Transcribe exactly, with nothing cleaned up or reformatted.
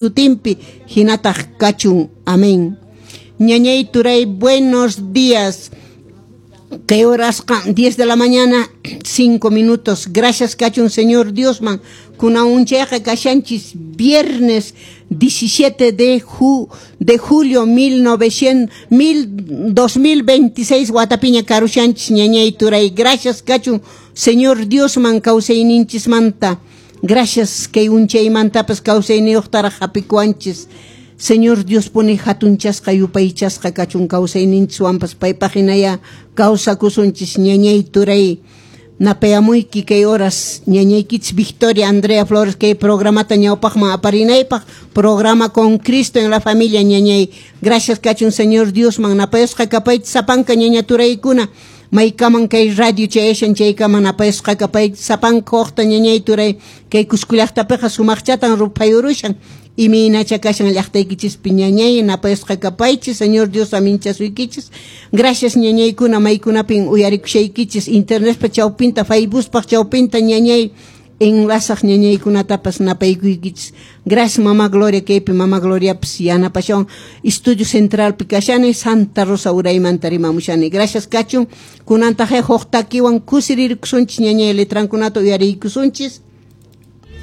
Sutinpi hinataq kachun. Amén. Ñañay, turay, buenos días. Kay horasqa diez de la mañana, cinco minutos. Gracias kachun Señor Diosman. Kunan unchayqa kashanchis viernes diecisiete de, ju, de julio mil novecientos, mil, dos mil veintiséis watapiña karushanchis, ñañay, turay. Gracias kachun Señor Diosman kawsayninchismanta. Gracias kay unchaymantapas kawsayniyuqtaraq hapikuwanchis. Señor Dios puni hatunchasqa, yupaychasqa kachun. Kawsayninchis paypaq hinaya kawsakusunchis, ñañay, turay. Napayamuyki kay horas ñañaykichis Victoria Andrea Flores kay programata ñawpaqman aparinaypaq, programa Con Cristo en la Familia, ñañay. Gracias kachun Señor Diosman. Napayasqa kapaychis sapanka, ñaña, turaykuna. Maykaman kay radio chayashan chaykaman napayasqa kapaychis sapanka huqta, ñañay, turay. Kay Cusco llaqtapiqa sumaqchatan ruphayurushan. Imaynacha kashan llaqtaykichispi, ñañay? Napayasqa kapaychis. Señor Dios aminchasuykichis. Gracias, ñañaykuna, maykunapin uyarikushaykichis internetpa chawpinta, Facebookpaq chawpinta, ñañay, enlazaq ñañaykunatapas napaykuykichis. Gracias, Mama Gloria. Kaypi Mama Gloriapas yanapashawan. Estudio Centralpi kashani, Santa Rosa uraymanta rimamushani. Gracias kachun. Kunantaq huk takiwan kusirirkusunchis, ñañay. Letrankunata uyariykusunchis.